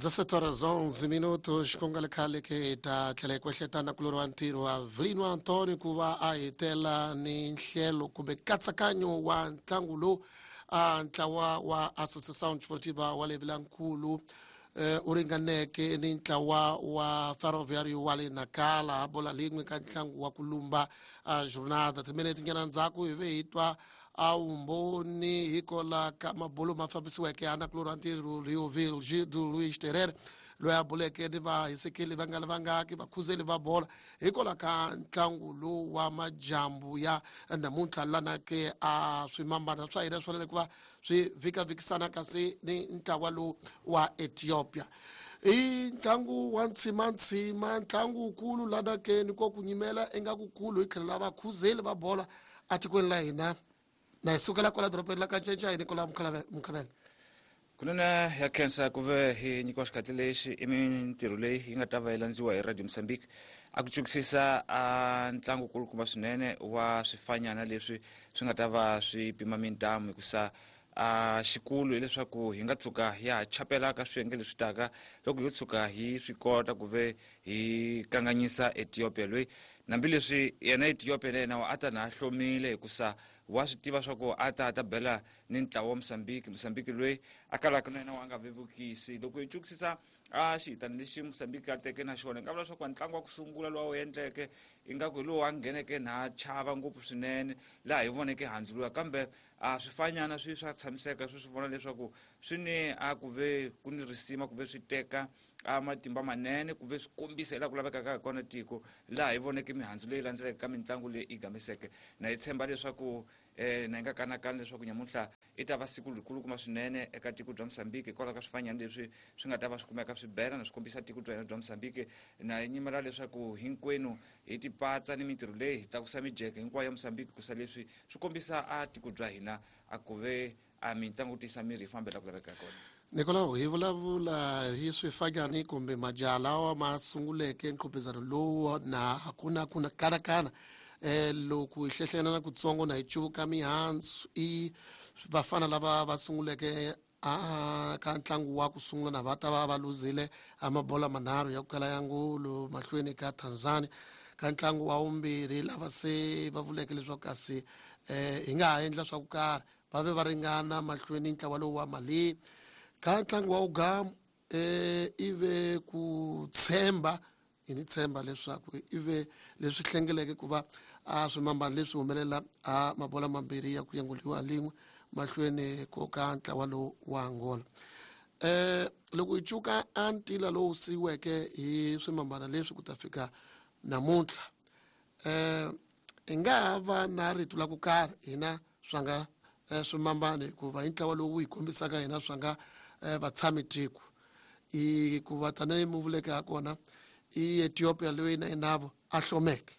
17 horas 11 minutos ku nga ri khale ke hi ta tlhela hi kwehleta na kulori wa ntirho wa Vilino Antonio ku va a hetela ni nhlelo kumbe nkatsakanyo wa ntlangu lowu a ntlawa wa Associação Desportiva wa le Vilankulu u ringaneke ni ntlawa wa Ferroviário wa le Nacala bola lin'we ka ntlangu wa ku lumba a jornada. Timinete nyana ndzhaku hi ve hi twa a vumbhoni hikola ka mabulo ma fambisiweke ya nakulorhi wa ntirho Rioville Gildo Luiz Terere loyi a buleke ni vahisekeli va nga ri vangaki vakhuzeli va bola hikola ka ntlangu lowu wa majambu ya namuntlha lana ke a swimambana swa hina swi fanele ku va swi vhikavhikisana kasi ni ntlawa lowu wa Ethiopia. I ntlangu wa ntshimantshima, ntlangu wukulu lana ke ni ko ku nyimela ingaku kulu hi tlhelo la vakhuzeli va bola atikweni la hina. Na hi sukela kwala dorobeni la Kancencai, Nicola Mukhavela. Kunene ya khensa ku ve hi nyikiwa xikhatli lexi. I mintirho leyi yi nga ta va yi landziwa hi Radio Mozambique a ku cukisisa a ntlangu kulukumba swinene wa swifanyana leswi swi nga ta va swi pima mintamu, hikusa a xikulu hileswaku hi nga tshuka ya ha chapela ka swiyenge leswi taka loko yo tshuka hi swi kota ku ve hi kanganyisa Ethiopia loyi, hambileswi yena Ethiopia na yena a ta na hlomile, hikusa wa swi tiva swa ku a ta ta bela ni ntlawa wa Mozambique, Mozambique loyi a kalaka na yena wa nga vevukisi. Loko hi cukisisa a xihitani lexi Mozambique a teke na xona, hi nga vula leswaku ntlangu wa ku sungula lowu wu endleke ingaku hi lowu a ngheneke na chava ngopfu swinene, laha hi voneke handzu luya, kambe a swifanyana swi swa tshamiseka swi swi vona leswaku swi ni a ku ve ku ni risima ku ve swi teka a matimba manene ku ve swi kombisa hi laha ku lavekaka hi kona tiko, laha hi voneke mihandzu leyi landzeleke ka mitlangu leyi yi gamiseke. Na hi tshemba leswaku na hi nga kanakani leswaku nyamuntlha i ta va siku rikulukumba swinene eka tiko bya Mozambique hikwalaho ka swifanyana leswi swi nga ta va swi kumeka swi bela na swi kombisa tiko bya hina bya Mozambique. Na hi nyimela leswaku hinkwenu hi tipatsa ni mintirho leyi hi tlakusa mijeke hinkwayo ya Mozambique, kusa leswi swi kombisa a tiko bya hina a ku ve a mitlangu tisa miri yi fambela ku laveka kona. Nicolau, hi vulavula hi swifanyani kumbe majaha lawa ma sunguleke nqhupizano lowu na hakuna kuna kanakana. Loko hi hlehlena na kutsongo na hi cuvuka mihandzu, i vafana lava va sunguleke a ka ntlangu wa ku sungula na va ta va va luzile a mabola manharhu ya ku kala ya ngulu mahlweni ka Tanzania. Ka ntlangu wa vumbirhi lava se va vuleke leswaku kasi hi nga ha endla swa ku karhi, va ve va ringana mahlweni ntlawa lowu wa Mali. Ka ntlangu wa ugamu ive ku tshemba hi ni tshemba leswaku ive leswi hlengeleke ku va a swimambana leswi humelela a mabola mambirhi ya ku yanguliwa lin'we mahlweni ko ka ntlawa lowu wa Angola. Loko hi cuka a ntila lowu siyiweke hi swimambana leswi ku ta fika namuntlha, hi nga ha va na rito la ku karhi hina swa nga swimambana, hikuva hi ntlawa lowu hi kombisaka hina swa nga vatshami tiko, hikuva tanihi mu vuleke ha kona i Ethiopia loyi na yinavo a hlomeke.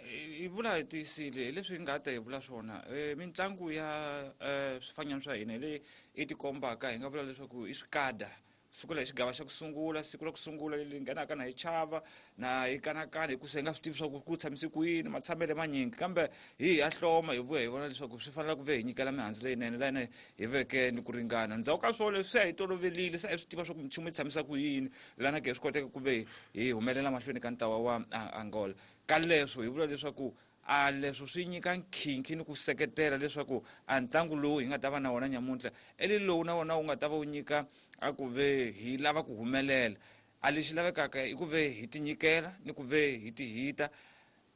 Hi vula hi tiyisile hi leswi hi nga ta hi vula swona. Mitlangu ya swifanyana swa hina hi leyi i tikombaka, hi nga vula leswaku i swikada sukela hi xigava xa ku sungula, siku ra ku sungula leri nghenaka na hi chava na hi kanakana, hikusa hi nga swi tivi swa ku ku tshamise ku yini, matshamele manyingi, kambe hi ya hloma, hi vuya hi vona leswaku swi fanele ku ve hi nyikela mihandzu leyinene laha hina hi veke ni ku ringana. Ndzhaku ka swona leswi se a hi tolovelile, se a hi swi tiva swa ku minchumu yi tshamisa ku yini, lana ke swi koteka ku ve hi humelela mahlweni ka ntlawa wa Angola. Ka leswo hi vula leswaku a leswo swi nyika nkhinkhi ni ku seketela leswaku a ntlangu lowu hi nga ta va na wona nyamuntlha eli lowu na wona wu nga ta va wu nyika a ku ve hi lava ku humelela. A lexi lavekaka i ku ve hi tinyikela ni ku ve hi tihita,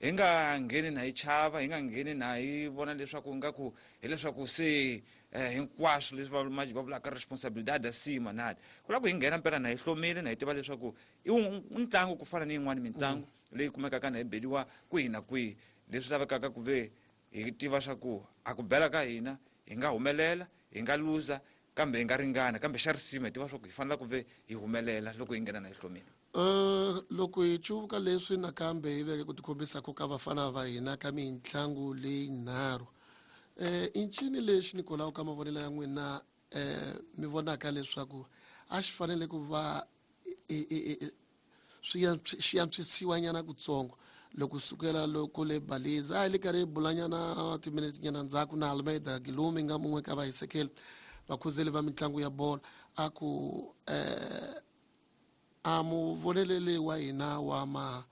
hi nga ngheni na hi chava, hi nga ngheni na hi vona leswaku nga ku hileswaku se hinkwaswo leswi va vulaka responsabilidade acima nadi ku lava ku hi nghena mpela na hi hlomile, na hi tiva leswaku i ntlangu ku fana ni yin'wani mitlangu leyi kumekaka na hi beliwa kwihi na kwihi. Leswi lavekaka ku ve hi tiva swa ku a ku bela ka hina hi nga humelela, hi nga luza, kambe hi nga ringana, kambe xa risima hi tiva swa ku hi fanele ku ve hi humelela loko hi nghena na hi hlomile. Loko hi cuvuka leswi nakambe hi veke ku tikhombisa ka vafana va hina ka mitlangu leyi nharhu, i ncini lexi, Nicolau, ka mavonelo ya n'wina mi vonaka leswaku a xi fanele ku va swi xi antswisiwa nyana kutsongo loko sukela loko le Baliza a hi le karhi hi bulanyana timinete nyana ndzhaku na Almeida Gilumi nga mun'we ka vahisekeli Vakhuzeli va mitlangu ya bolo a ku a muvoneleli wa hina wa ma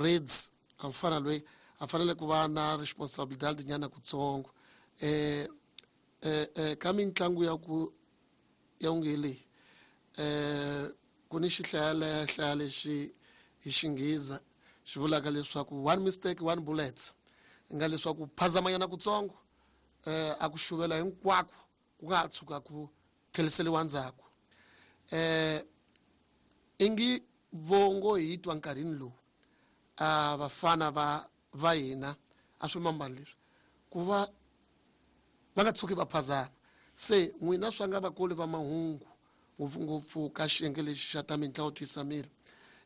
Reds a mfana loyi a fanele ku va na responsibilidade nyana kutsongo ka mitlangu ya ku ya unge leyi ku ni xihlaya lexi hi xinghiza xi vulaka leswaku one mistake one bullet nga leswaku phazamanyana kutsongo a ku xuvela hinkwako ku nga ha tshuka ku tlheriseriwa ndzhaku ingi vongo hi twa nkarhini lowu a vafana va hina a swi mambani leswi ku va va nga tshuki va phazama se n'wina swa nga vakoli va mahungu ngopfungopfu ka xiyenge lexi xa ta mitlangu tiyisa miri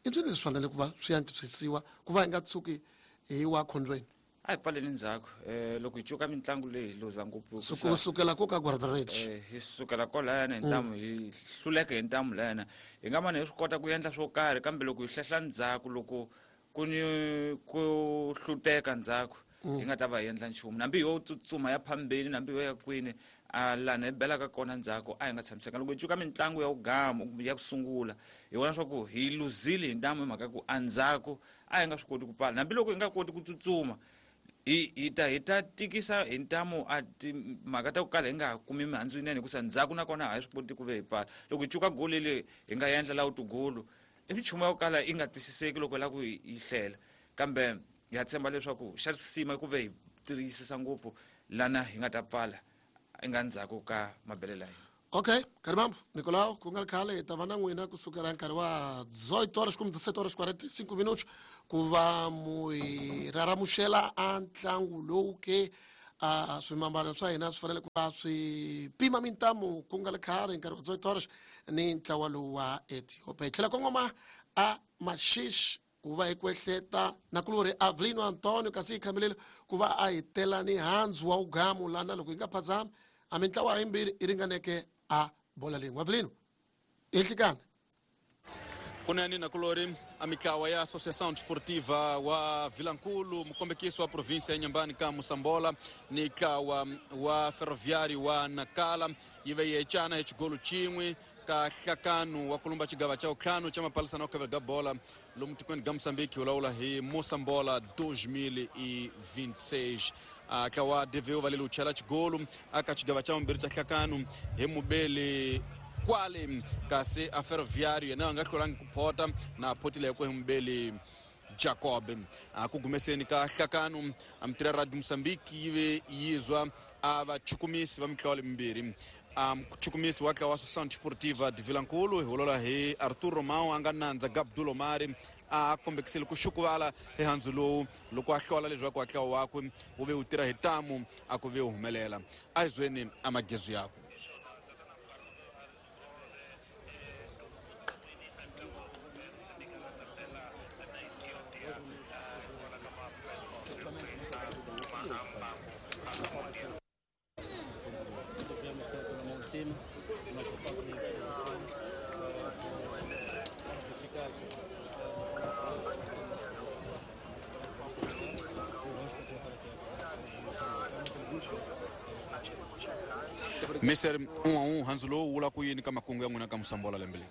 i swilo leswi fanele ku va swi antswisiwa ku va hi nga tshuki hi wa khondweni. A hi pfaleni ndzhaku loko hi cuka mitlangu leyi hi luza ngopfu ku sukela ko ka guardrage hi sukela kolayana hi ntamu hi hluleka hi ntamu layana hi nga mane hi swi kota ku endla swo karhi kambe loko hi hlehla ndzhaku loko ku ni ku hluteka ndzhaku hi nga ta va hi endla nchumu nambi yo tsutsuma ya phambeni nambi yo ya kwini a lana hi belaka kona ndzhaku a hi nga tshamiseka loko hi cuka mitlangu ya wugamu ya ku sungula hi vona swa ku hi luzile hi ntamu hi mhaka ku andzhaku a hi nga swi koti ku pfala hambi loko hi nga koti ku tsutsuma hi ta tikisa hi ntamu a timhaka ta ku kala hi nga kumi mihandzu yinene hikusa ndzhaku nakona a hi swi koti ku ve hi pfala loko hi cuka goli leyi hi nga endla la tugulu i minchumu ya ku kala yi nga twisiseki loko hi lava ku yi hlela kambe ha tshemba leswaku xa risima ku ve hi tiyisisa ngopfu lana hi nga ta pfala nga ndzhaku ka mabelela hina. Okay, Karimambo, Nicolau, ku nga khale hi ta va na n'wina kusukela nkarhi wa 18 horas kumbe 17 horas 45 minutos ku va mu hi raramuxela a ntlangu lowu ke a swimambano swa hina swi fanele ku va swi pima mintamu ku nga ri khale nkarhi wa 18 horas ni ntlawa lowu wa Ethiopia. Hi tlhela kongoma a Maxixe ku va hi kwehleta nakulorhi Avelino Antonio kasi hi khamelele ku va a hi tela ni handzu wa ugamu lana loko hi nga phazami a mintlawa yimbirhi yi ringaneke a bola lin'we. Avelino, ehlikana kunene nakulori a mitlawa ya Associação Desportiva wa Vilankulu mukombekisi wa província ya Inhambane ka Moçambola ni ntlawa wa Ferroviário wa Nacala yi ve yi ecana hi xigolo xin'we ka hlakanu wa kulumba xigava xa vutlhanu xa mapalisana wa kavela bola lomu tikweni ga Moçambique wu lawula hi Moçambola 2026 ntlawa DVU va leli wu chela xigolo aka xigava xa vumbirhi xa hlakanu hi mubeli kwale kasi a Ferroviário yena a nga hlulangi ku phota na photile hi ku hi mubeli Jacob ku gumeseni ka hlakanu a mitira Radio Moçambique yi ve yizwa a vachukumisi va mitlawa lemimbirhi muchukumisi wa ntlawa wa Associação Desportiva de Vilankulu hi hulola hi Arthur Romão a nga nandza Gabdul Omari a kombekisile ku xukuvala hi handzu lowu loko a hlola leswaku a ntlawa wakwe wu ve wu tirha hi tamu a ku ve wu humelela a hi zweni a magezu yakwe. Mister 1-1 handzu lowu wula ku yini ka makungu ya n'wina ka Moçambola lembe leri?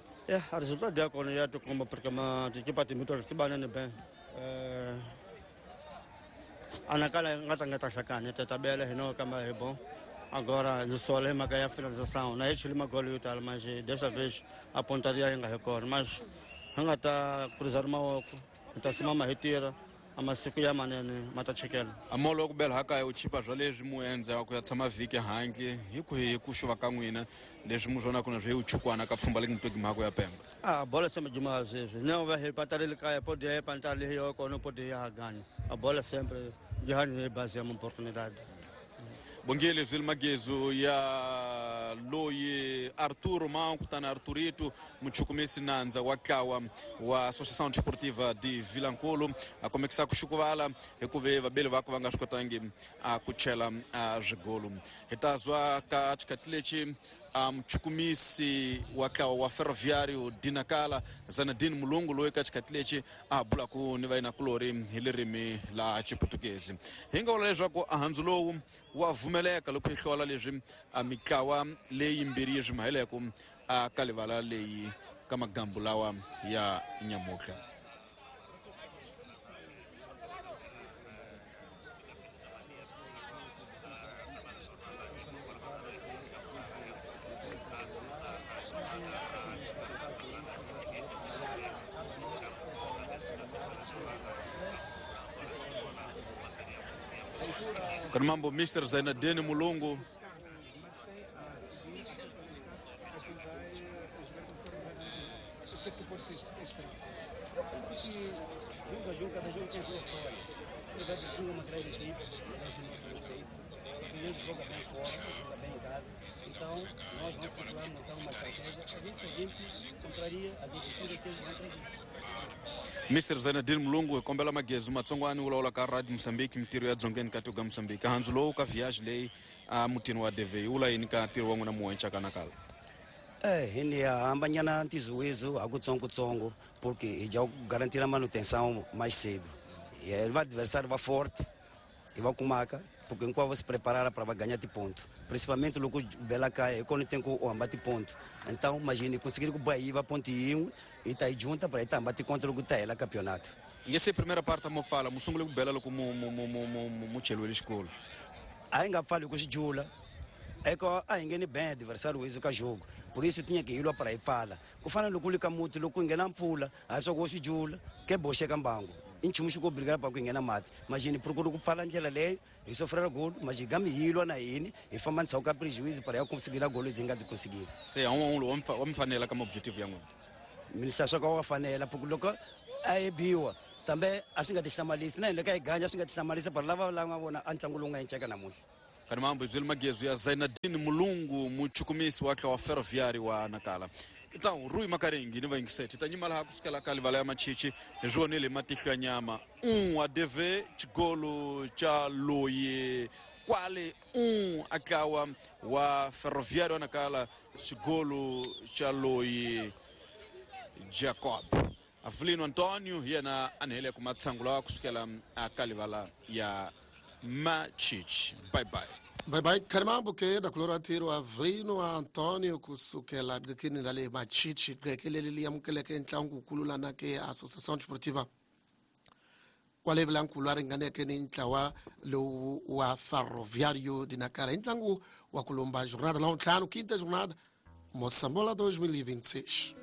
A resultado ya kona ya tikomba porque ma tikipa timbirhi ti banene ben. A Nacala nga tlanga ta hlakani ta tabela hi no kamba hi bom. Agora ndzi sola hi mhaka ya finalização na hi chile magolo yo tala mas dessa vez a pontaria yi nga hi kona mas hi nga ta cruzar mavoko hi ta simama hi tirha a masiku ya manene ma ta chikela. A molo wa ku bela hakaya wu chipa swa leswi mu endza ku ya tshama vhiki handle hi ku hi ku xuva ka n'wina leswi mu swonaka na swi chukwana ka pfhumba leki mutweki mhako ya Pemba. A bola sempre demais vezes. Não vai repatar ele cai, pode repantar ali eu não pode ganhar. A bola sempre de base é uma oportunidade. Bongele zwili magezu ya loyi Arthur Romão kutana Arthurito muchukumisi nandza wa ntlawa wa Associação Desportiva de Vilankulu a komekisa ku xukuvala hikuva vabeli vako va nga swi kotangi a ku chela a swigolo hi ta zwa ka xikhathi lexi A muchukumisi wa ntlawa wa Ferroviário de Nacala, Zanadini Mulungu, loyi ka xikhathi lexi a bulaku ni vayinakulori hi ririmi la Xiputukezi. Hi nga vula leswaku a handzu lowu wa vumeleka loko hi hlola leswi a mitlawa leyimbirhi yi swi maheleku a ka livala leyi ka magambu lawa ya nyamutlha. Kana mambo Mr. Zainadeni Mulungu. Jogo a jogo, cada jogo tem sua história. O é uma grande equipe, merece o nosso respeito. O joga bem fora, joga bem em casa. Então, nós vamos procurar montar uma estratégia a ver se a gente contraria as investidas que eles vão trazer. Mr. Zainadine Mulungu, hi kombela Magezi Matsongwani wu lawula ka Radio Mozambique, mintirho ya dzongeni ka tiko ka Mozambique. Handzu lowu ka viage leyi a mutini wa DV yi vula yini ka ntirho wa n'wina muwenca ka Nakala? É, ni hambanyana ntizuwizo akutsongo-tsongo, porque hi já garantir a manutenção mais cedo. E o adversário vai forte e vai kumaka, porque enquanto se preparar para ganhar de ponto. Principalmente o Bela cai, quando tem o embate ponto. Então, imagine, conseguir que o Bahia vá pontinho e tá aí junta para estar embate contra o Gutela campeonato. E essa primeira parte mo fala, musungule ku Bela loko mu mu mu mu mu mu chelo xikolo. Aí nga fali ku xijula. É que a ingene bem adversário wizo ka jogo. Por isso tinha que ir lá para aí fala. Kufana lokulika muti loku ingena mpfula, aí só go xijula, que boxe ka mbango. Nchumu xi ku obrigado para ku nghena mati. Imagine procura ku pfala ndlela leyo, hi sofrela golo, mas gami hi lwa na yini, hi famba ndzhaku ka prejuízo para ya conseguir golo lebyi nga byi conseguir. Se a wa mi fanela ka objective ya n'wina. Minista swa ka wa fanela, porque loko a yi biwa, tambe a swi nga ti hlamarisi, na hina ka hi ganya swi nga ti hlamarisi, para lava lava vona a ntlangu lowu nga enceka namuntlha. Kana mambo izweli Magezu ya Zainadine Mulungu, muchukumisi wa ntlawa wa Ferroviário wa Nacala. Então, Rui Makaringi ni vayingiseti ta nyima laha kusukela ka livala ya Machichi, hi swi vonile hi matihlo ya nyama. A DV xigolo xa loyi kwale a ntlawa wa Ferroviário wa Nacala, xigolo xa loyi Jacob. Avelino Antonio hi yena a ni heleke matshangu lawa kusukela a ka livala ya Machichi. Bye bye. Bye bye. Karimambo ke da kulora tiro Avelino Antonio kusukela qekini ra le Machichi, qeke leri li amukeleke ntlangu wukulu lana ke Associação Desportiva kwale vilankulu a ringaneke ni ntlawa lowu wa Ferroviário de Nacala hi ntlangu wa ku lomba jornada la ntlhanu, quinta jornada Moçambola 2026.